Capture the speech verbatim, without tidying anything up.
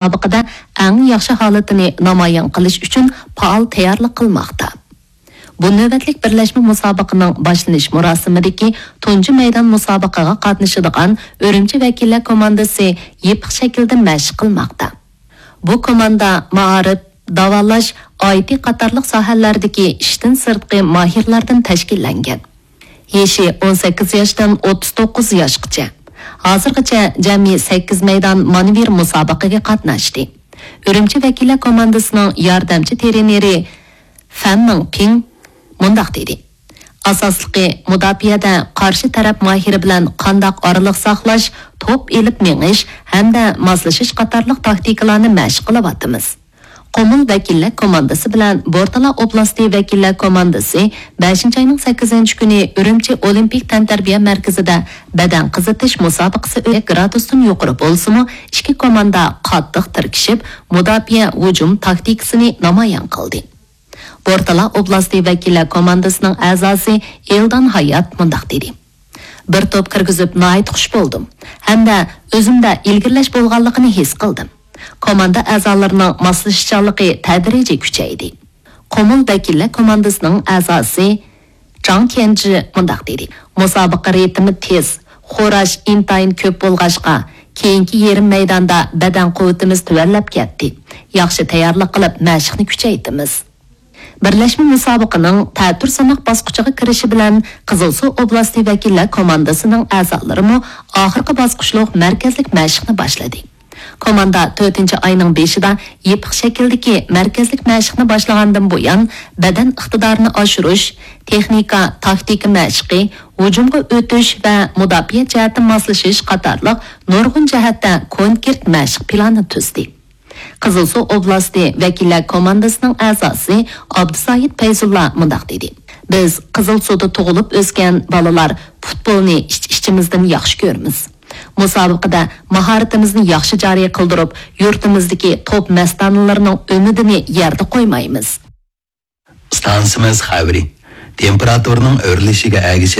مۇسابىقىدە ئەڭ ياخشى ھالىتىنى نامايان قىلىش ئۈچۈن پائال تەييارلىق قىلماقتا. بۇ نۆۋەتلىك بىرلەشمە مۇسابىقىنىڭ باشلىنىش مۇراسىمىدىكى تۇنجى مەيدان مۇسابىقىگە قاتنىشىدىغان ئۈرۈمچى ۋەكىللەر كوماندىسى يېپىق شەكىلدە مەشىق قىلماقتا. بۇ كوماندا مائارىپ، داۋالاش، ئايتى قاتارلىق ساھەلەردىكى ئىشتىن سىرتقى ماھىرلاردىن تەشكىللەنگەن. يېشى ئون سەككىز ياشتىن ئوتتۇز توققۇز ياشقىچە. ھازىرغىچە جەمئىي سەككىز مەيدان مانېۋىر مۇسابىقىگە قاتناشتى. ئۈرۈمچى ۋەكىللەر كوماندىسىنىڭ ياردەمچى ترېنېرى فەن مىڭپىڭ مۇنداق دېدى: ئاساسلىقى مۇداپىئەدە قارشى تەرەپ ماھىرى بىلەن قانداق ئارىلىق ساقلاش، توپ ئېلىپ مېڭىش ھەمدە ماسلىشىش قاتارلىق تاكتىكىلارنى مەشىق قىلىۋاتىمىز. قۇمۇل ۋەكىللەر كوماندىسى بىلەن بورتالا ئوبلاستى ۋەكىللەر كوماندىسى بەشىنچى ئاينىڭ سەككىزىنچى كۈنى ئۈرۈمچى ئولىمپىك تەنتەربىيە مەركىزىدە بەدەن قىزىتىش مۇسابىقىسى ئۆتكەن. گرادۇستىن يۇقىرى بولسىمۇ، ئىككى كوماندا قاتتىق تىركىشىپ، مۇداپىئە ھۇجۇم تاكتىكىسىنى نامايان قىلدى. بورتالا ئوبلاستى ۋەكىللەر كوماندىسىنىڭ ئەزاسى ئېلدان ھايات مۇنداق دېدى: بىر توپ كىرگۈزۈپ ناھايىتى خۇش بولدۇم ھەمدە ئۆزۈمدە ئىلگىرىلەش بولغانلىقىنى ھېس قىلدىم. كوماندا ئەزالىرىنىڭ ماسلىشىشچانلىقى تەدرىجىي كۈچەيدى. قۇمۇل ۋەكىللەر كوماندىسىنىڭ ئەزاسى جاڭ كيەنجى مۇنداق دېدى: مۇسابىقە رىتىمى تېز، خوراش ئىنتايىن كۆپ بولغاچقا، كېيىنكى يېرىم مەيداندا بەدەن قۇۋۋىتىمىز تۆۋەنلەپ كەتتى. ياخشى تەييارلىق قىلىپ، مەشىقنى كۈچەيتىمىز. بىرلەشمە مۇسابىقىنىڭ تەتۈر سىناق باسقۇچىغا كىرىشى بىلەن، قىزىلسۇ ئوبلاستى ۋەكىللەر كوماندىسىنىڭ ئەزالىرىمۇ ئاخىرقى باسقۇچلۇق مەركەزلىك مەشىقنى باشلىدى. كوماندا تۆتىنچى ئاينىڭ بېشىدا يېپىق شەكىلدىكى مەركەزلىك مەشىقنى باشلىغاندىن بۇيان، بەدەن ئىقتىدارىنى ئاشۇرۇش، تېخنىكا، تاكتىكا مەشىقى، ھۇجۇمغا ئۆتۈش ۋە مۇداپىئە جەھەتتە ماسلىشىش قاتارلىق نۇرغۇن جەھەتتە كونكرېت مەشىق پىلانى تۈزدى. قىزىلسۇ ئوبلاستى ۋەكىللەر كوماندىسىنىڭ ئەزاسى ئابدۇسايىت پەيزۇللا مۇنداق دېدى: بىز قىزىلسۇدا تۇغۇلۇپ ئۆسكەن بالىلار پۇتبولنى ئىچ-ئىچىمىزدىن ياخشى كۆرىمىز. مۇسابىقىدە ماھارىتىمىزنى ياخشى جارى قىلدۇرۇپ، يۇرتىمىزدىكى توپ مەستانىلىرىنىڭ ئۈمىدىنى يەردە قويمايمىز. ئىستانسىمىز خەۋىرى. تېمپېراتۇرىنىڭ ئۆرلىشىگە ئەگىشىپ،